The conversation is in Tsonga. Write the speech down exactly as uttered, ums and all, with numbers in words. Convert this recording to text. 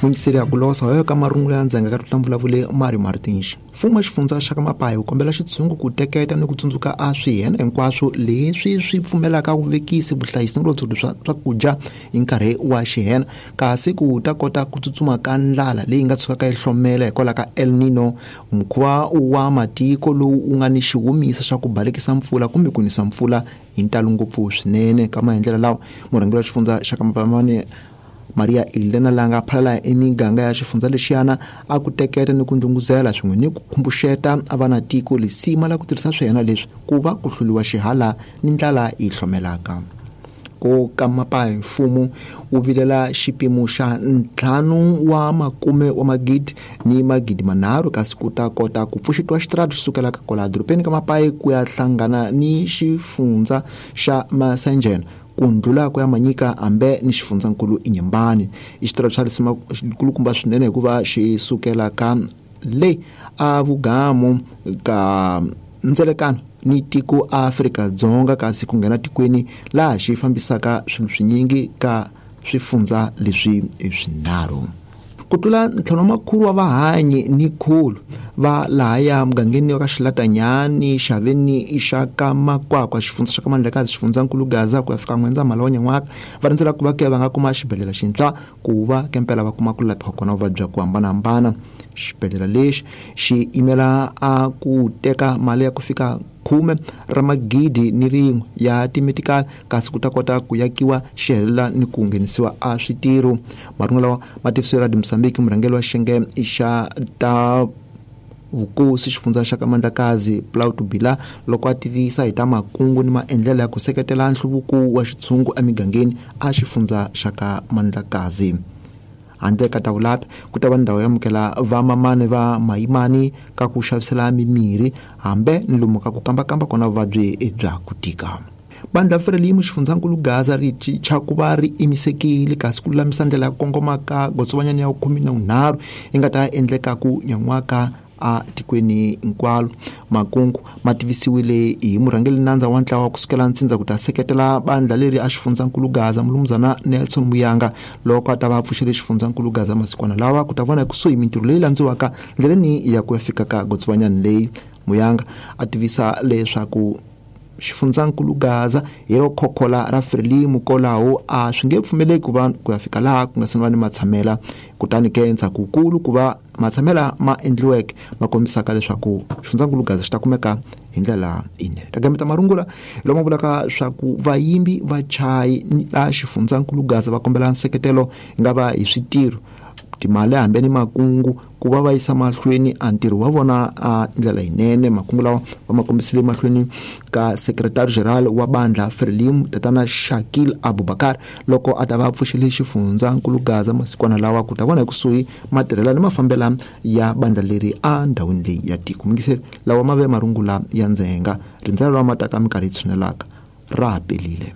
Mungiseri ya ku losa hoyo ka marungula ya ndzhenga ka tlula vulavule Mario Martins. Mfumo wa xifundza xa ka Mapayi wu kombela xitshungu ku teketa ni ku tsundzuka a swihena hinkwaswo leswi swi pfumelaka vuvekisi, vuhlayisi ni vulondzoli bya swakudya hi nkarhi wa xihena, kasi ku ta kota ku tsutsuma ka ndlala leyi nga tshukaka yi hlomela hikwalaho ka El Nino, mukhuva wa matiko lowu wu nga ni xiwumisa xa ku balekisa mpfula kumbe ku nisa mpfula hi ntalo ngopfu swinene. Ka maendlelo lawa, murhangeri wa xifundza xa ka Mapayi Maria Elena langa phalala emiganga ya xifundza lexiyana a ku teketa ni ku ndlunguzela swin'we ni ku khumbuxeta a va na tiko lisima la ku tirhisa swihena leswi ku va ku hluliwa xihala ni ndlala yi hlomelaka. Ko ka Mapayi, mfumo wu vilela xipimo xa ntlhanu wa makume wa magidi ni magidi manharhu kasi ku ta kota ku pfuxetiwa xitarata xi sukelaka kwala dorobeni ka Mapayi ku ya hlangana ni xifundza xa Masanjena, ku ndlula ku ya Manyika hambe ni xifundzankulu Inhambane. I xitarata xa risima kulukumba swinene hikuva xi sukela ka le a vugamu ka ndzelekano ni tiko Afrika-Dzonga kasi ku nghena tikweni laha xi fambisaka swilo swinyingi ka swifundza leswi swinharhu. Ku tlula ntlhanu wa makhulu wa vahanyi ni khulu va lahaya mugangeni wa ka Xilatanyani, Xaveni xa ka Makwakwa, xifundza xa ka Mandlakazi, xifundzankulu Gaza ku ya fika N'wendzamhala wa nyan'waka, va rindzela ku va ke va nga kuma xibedhlele xintshwa ku va kempela va kuma ku laphiwa kona vuvabyi bya ku hambanahambana. Xibedhlele lexi xi yimela a ku teka mali ya ku fika khume ra magidi ni rin'we ya timetikali kasi ku ta kota ku yakiwa xi helela ni ku nghenisiwa a switirho. Marungu lawa ma tivisiwe Radio Mozambique murhangeri wa xiyenge xa ta vukosi xifundza xa ka Mandlakazi Plauto Bila loko a tivisa hi ta makungu ni maendlelo ya ku seketela nhluvuko wa xitshungu emigangeni a xifundza xa ka Mandlakazi. Handle ka ta vulapi ku ta va ndhawu yo amukela vamamani va mayimani ka ku xavisela mimirhi hambe ni lomu ka ku kambakamba kona vuvabyi bya ku tika. Bandla Frelimo xifundzankulu Gaza ri chicha ku va ri imisekile kasi ku lulamisa ndlela ya ku kongoma ka gotsovanyana ya khume na vunharhu yi nga ta endleka ku nyan'waka a tikweni hinkwalo. Makungu ma tivisiwile hi murhangeri nandza wa ntlawa kusukela ntsindza ku ta seketela bandla leri a xifundzankulu Gaza mulumuzana Nelson Muyanga loko a ta va pfuxele xifundzankulu Gaza masikwana lawa ku ta vona ekusuhi mintirho leyi landziwaka ndleleni ya ku ya fika ka gotsovanyana leyi. Muyanga a tivisa leswaku xifundzankulu Gaza hi ro khokhola ra Frelimo kolaho a swi nge pfumeleki ku va ku ya fika laha ku nga se va ni matshamela, kutani ke ndzhaku kulu ku va matshamela ma endliweke ma kombisaka leswaku xifundzankulu Gaza xi ta kumeka hi ndlela yinene. Ta gameta marungula lama vulaka swa ku vayimbi va chayi la xifundzankulu Gaza va kombela nseketelo yi nga va hi switirho, timali hambe ni makungu ku va va yisa mahlweni a ntirho wa vona a ndlela yinene. Makungu lawa va ma kombisile mahlweni ka secretary general wa bandla Frelimo tatana Shakil Abubakar loko a ta va pfuxele xifundzankulu Gaza masikwana lawa ku ta vona ekusuhi matirhela ni mafambela ya bandla leri a ndhawini leyi ya tiko. Mingiseri lawa ma ve marungula ya ndzhenga rindzela lawa ma taka minkarhi yi tshunelaka ra ha pelile.